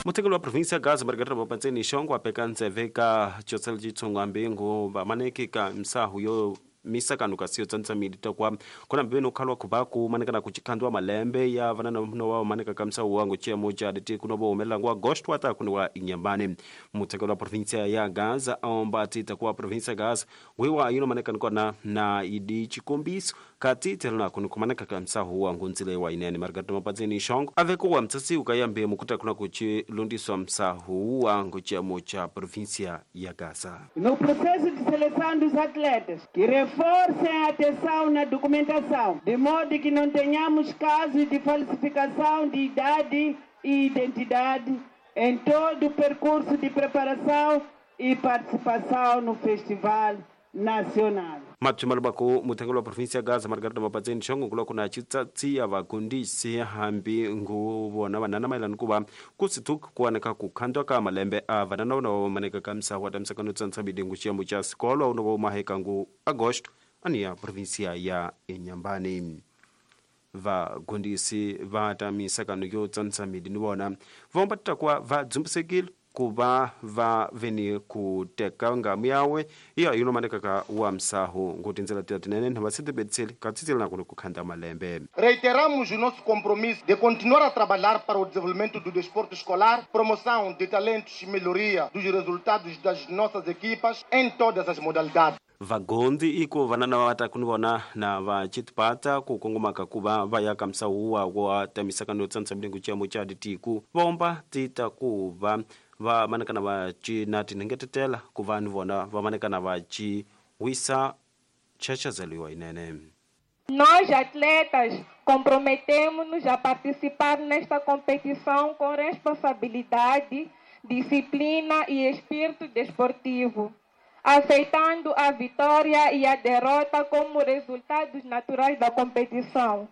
Muthekeli wa provinsi ya Gaza Margarita Mapantseni Xongo apeka ntseve ka chotsela chitsongo ambingu vamaneki ka msahu yo misakano kasi yo tsandza midi takwa kona mbeni ukhalwa kubaku manekana kuchikhandwa malembe ya vanana no wa maneka ka msahu wangu chiamo cha diti kuno bo umelangu agosto ata kuno inyambane. Muthekeli wa provinsi ya Gaza aomba tita kwa provinsi ya Gaza wiwa yuno maneka kona na idi chikombiso kati telona kuno kumaneka ka msahu wangu nzile wa inene. Margarita Mapantseni Xongo avekuwa mtsasi ukayambe mukuta kuna kuchilundiswa msahu wangu chiamo cha provinsi ya Gaza. No processo de seleção dos atletas, que reforcem a atenção na documentação, de modo que não tenhamos casos de falsificação de idade e identidade em todo o percurso de preparação e participação no Festival Nacional. Mapchimalubako muthengelo wa provinsi ya Gaza Margarita Mapantseni Xongo kula kuna chitsatsi ya vakundisi hambi ngu vona vanana mayelana kuva kusithuki kuwaneka kukhandwa ka malembe a vanana vona va maneka ka msahu wa tamisakano tsantsa bidingu xiyamo xa sikolo uno va maheka ngu agosto ani ya provinsia ya Inhambane. Vagundisi va ta misakano yo tsantsa midi ni vona vomba kwa va dzumbisekile kuva va veni ku teka ngamu yawe iya yuno maneka ka wa msahu nguti ndzela tira tinene na vasitibetseli katsitsela na ku khanda malembe. Reiteramos o nosso compromisso de continuar a trabalhar para o desenvolvimento do desporto escolar, promoção de talentos e melhoria dos resultados das nossas equipas em todas as modalidades. Vagondi iko vanana va ta kunivona na va chitipata ku kongomaka kuva va ya ka msahu wa wa tamisakano yo tsandza milengo chiamo cha ditiku vomba tita kuva va manekana va ci na tinhengetetela ku va ni vona va manekana va ci wisa chachazeliwa inene. Nós, atletas, comprometemos-nos a participar nesta competição com responsabilidade, disciplina e espírito desportivo, aceitando a vitória e a derrota como resultados naturais da competição.